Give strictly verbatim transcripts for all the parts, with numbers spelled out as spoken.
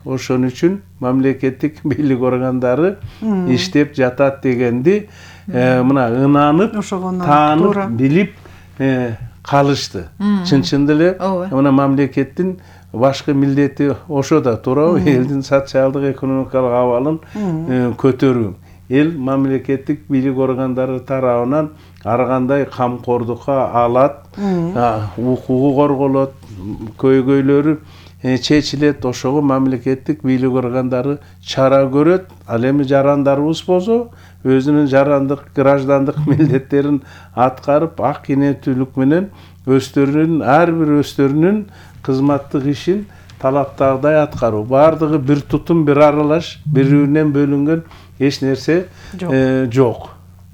ошон үчүн мамлекеттик бийлик органдары иштеп жатат дегенди мына ынанып, таанып, билип калышты. Чын чынында эле мына мамлекеттин башкы милдети ошо да туурабы, элдин социалдык экономикалык абалын көтөрүү. Эл мамлекеттик бийлик органдары тарабынан ар кандай камкордукка алат, укугу корголот, көйгөйлөрү чечилет, ошого мамлекеттик бийлик органдары чара көрөт. Ал эми жарандарыбыз болсо өзүнүн жарандык, граждандык милдеттерин аткарып, ак инеттүүлүк менен өздөрүнүн ар бир өздөрүнүн кызматтык ишин талаптагыдай аткаруу. Бардыгы бир тутум, бир аралаш, бири-биринен бөлүнгөн эч нерсе жок.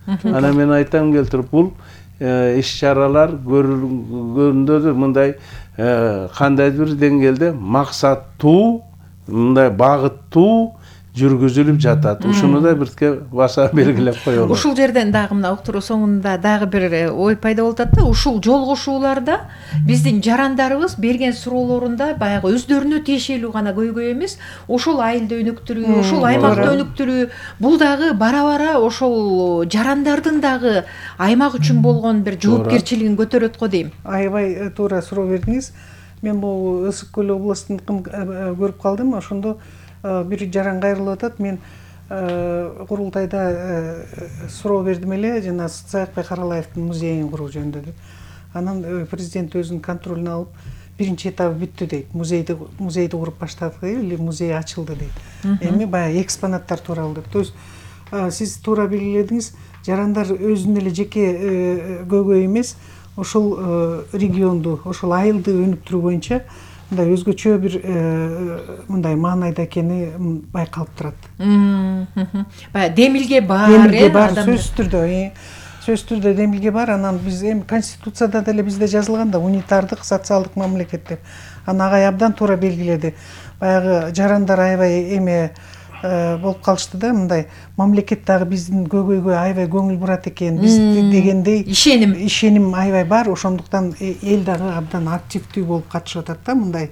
Анан мен айтам келтирип, бул иш-чаралар көрүлгөндө да мындай кандайдыр бир деңгээлде максаттуу, мындай багыттуу жүргүзүлүп жатат. Ушуну да бирке баса белгилеп коелу. Ушул жерден дагы мына уктуруу соңунда дагы бир ой пайда болуп атат да, ушул жолугушууларда биздин жарандарыбыз берген суроолорунда баягы өздөрүнө тиешелүү гана көйгөй эмес, ошол айылды өнүктүрүү, ошол аймакты өнүктүрүү, бул дагы бара-бара ошол жарандардын дагы аймак үчүн болгон бир жоопкерчилигин көтөрөт го дейм. Аябай туура суроо бердиңиз. Мен бул Ысык көл областын көрүп калдым. Ошондо бир жаран кайрылып атат. Мен курултайда суроо бердим эле, жана Саякбай Каралаевдин музейин куруу жөнүндө деп. Анан президент өзүнүн контролуна алып, биринчи этабы бүттү дейт. Музейди музейди куруп баштадык или музей ачылды дейт. Эми баягы экспонаттар тууралуу деп. То есть сиз туура белгиледиңиз, жарандар өзүнүн эле жеке көйгөй эмес, ошол регионду, ошол айылды өнүктүрүү боюнча мындай өзгөчө бир мындай маанайда экени байкалып турат. Баягы демилге бар, демилге бар, сөзсүз түрдө, сөзсүз түрдө демилге бар. Анан биз эми конституцияда деле бизде жазылган да, унитардык социалдык мамлекет деп. Анан агай абдан туура белгиледи. Баягы жарандар аябай эме болуп калышты да, мындай мамлекет дагы биздин көйгөйгө аябай көңүл бурат экен, биз дегендей ишеним ишеним аябай бар. Ошондуктан эл дагы абдан активдүү болуп катышып атат да мындай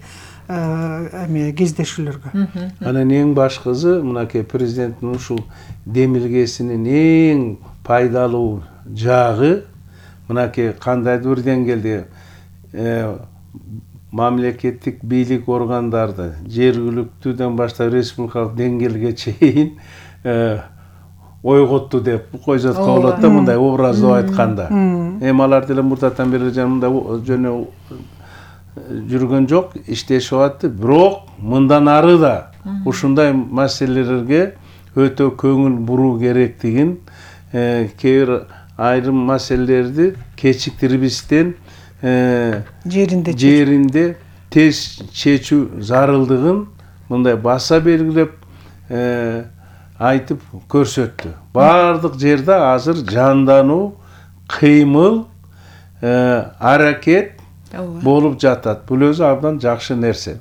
эме кездешүүлөргө. Анан эң башкысы мынакей президенттин ушул демилгесинин эң пайдалуу жагы мынакей кандайдыр бир деңгээлде мамлекеттик бийлик органдарды жергиликтүүдөн баштап республикалык деңгээлге чейин ойготту деп койсотко болот да, мындай образдуу айтканда. Эми алар деле мурдатан бери мындай жөнү жүргөн жок, иштешип атты. Бирок мындан ары да ушундай маселелерге өтө көңүл буруу керектигин, кээ бир айрым маселелерди кечиктирбестен жеринде жеринде тез чечүү зарылдыгын мындай баса белгилеп айтып көрсөттү. Бардык жерде азыр жандануу, кыймыл, аракет болуп жатат. Бул өзү абдан жакшы нерсе.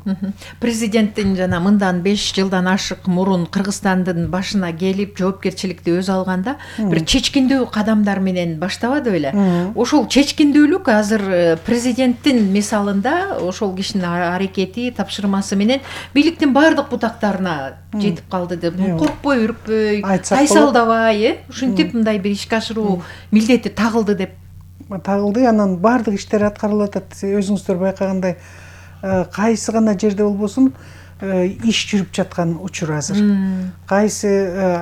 Президенттин жана мындан беш жылдан ашык мурун Кыргызстандын башына келип жоопкерчиликти өз алганда бир чечкиндүү кадамдар менен баштабады беле? Ошол чечкиндүүлүк азыр президенттин мисалында ошол кишинин аракети, тапшырмасы менен бийликтин бардык бутактарына жетип калды деп. Коркпой, үркпөй, тайсалдабай, э, ушинтип мындай бир ишке ашыруу милдети тагылды деп тагылды. Анан бардык иштер аткарылып атат. Өзүңүздөр байкагандай, кайсы гана жерде болбосун иш жүрүп жаткан учур азыр. Кайсы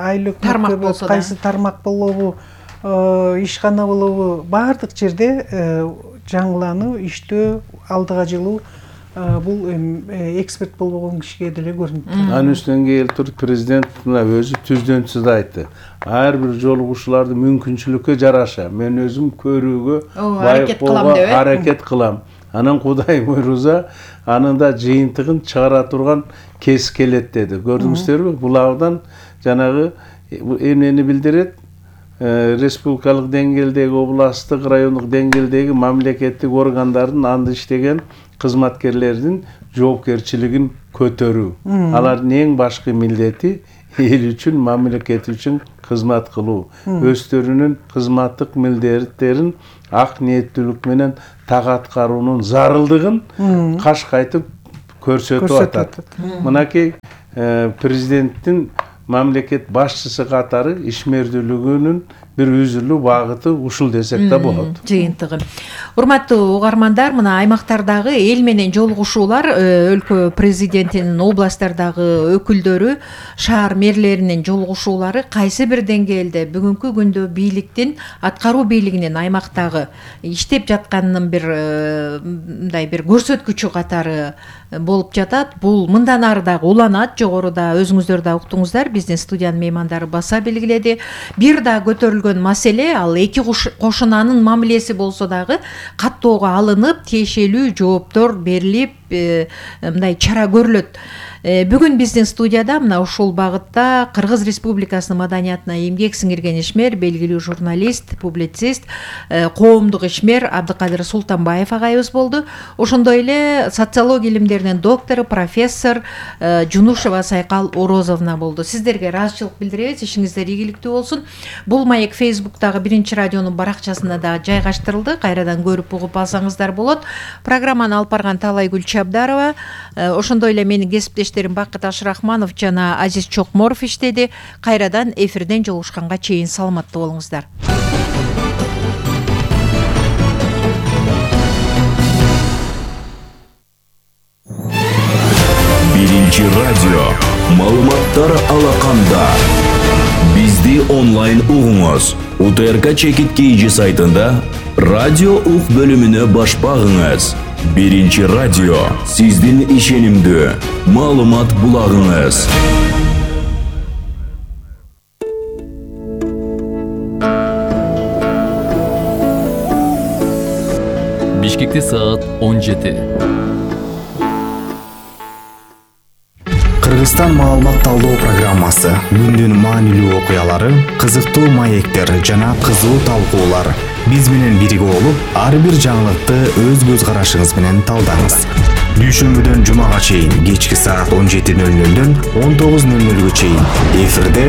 айлык тармак болсо да, кайсы тармак болобу, ишкана болобу, бардык жерде жаңылануу, иштөө, алдыга жылуу бул эксперт болбогон кишиге деле көрүнүп турат. Анын үстүнөн келтирип президент мына өзү түздөн түз айтты. Ар бир жолугушууларды мүмкүнчүлүккө жараша мен өзүм көрүүгө байып болууга аракет кылам. Анан Кудай буйруза анын да жыйынтыгын чыгара турган кез келет деди. Көрдүңүздөрбү? Бул абдан жанагы эмнени билдирет? Республикалык деңгээлдеги, областтык, райондук деңгээлдеги мамлекеттик органдардын анда иштеген кызматкерлердин жоопкерчилигин көтөрүү. Алардын эң башкы милдети эл үчүн, мамлекет үчүн кызмат кылуу. Өздөрүнүн кызматтык милдеттерин ак ниеттүүлүк менен так аткаруунун зарылдыгын каш кайтып көрсөтүп атат. Мынакей президенттин мамлекет башчысы катары ишмердүүлүгүнүн бир үзүлүү багыты ушул десек да болот. Жыйынтыгы. Урматтуу угармандар, мына аймактардагы эл менен жолугушуулар, өлкө президентинин, областтардагы өкүлдөрү, шаар мэрлеринин жолугушуулары кайсы бир деңгээлде бүгүнкү күндө бийликтин, аткаруу бийлигинин аймактагы иштеп жатканынын бир мындай бир көрсөткүчү катары болуп жатат. Бул мындан ары дагы уланат. Жогоруда өзүңүздөр да уктуңуздар, биздин студиянын меймандары баса белгиледи. Бир да көтөрүлгөн маселе ал эки кошунанын мамилеси болсо дагы каттоого алынып, тиешелүү жооптор берилип, мындай чара көрүлөт. Бүгүн биздин студияда мына ушул багытта Кыргыз Республикасынын маданиятына эмгек сиңирген ишмер, белгилүү журналист, публицист, коомдук ишмер Абдыкадыр Султанбаев агайыбыз болду. Ошондой эле социология илимдеринин доктору, профессор Жунушева Сайкал Орозовна болду. Сиздерге ыраазычылык билдиребиз, ишиңиздер ийгиликтүү болсун. Бул маек Фейсбуктагы биринчи радионун баракчасына да жайгаштырылды. Кайрадан көрүп угуп алсаңыздар болот. Программаны алып барган Талайгүл Чабдарова, ошондой эле менин кесиптеш Бакыт Ашрахманов жана Азиз Чокморов иштеди. Кайрадан эфирден жолугушканга чейин саламаттуу болуңуздар. Биринчи радио маалыматтар алаканда. Бизди онлайн угуңуз. УТРК Чекит Кейжи сайтында радио ук бөлүмүнө баш багыңыз. Биринчи радио сиздин ишенимдүү маалымат булагыңыз. Бишкекте саат он жети. Кыргызстан маалымат талдоо программасы, күндүн маанилүү окуялары, кызыктуу маектер жана кызуу талкуулар. Биз менен бирге болуп, ар бир жаңылыкты өз көз карашыңыз менен талдаңыз. Дүйшөмбүдөн жумага чейин кечки саат он жети нөл нөлдөн он тогуз нөл нөлгө чейин эфирде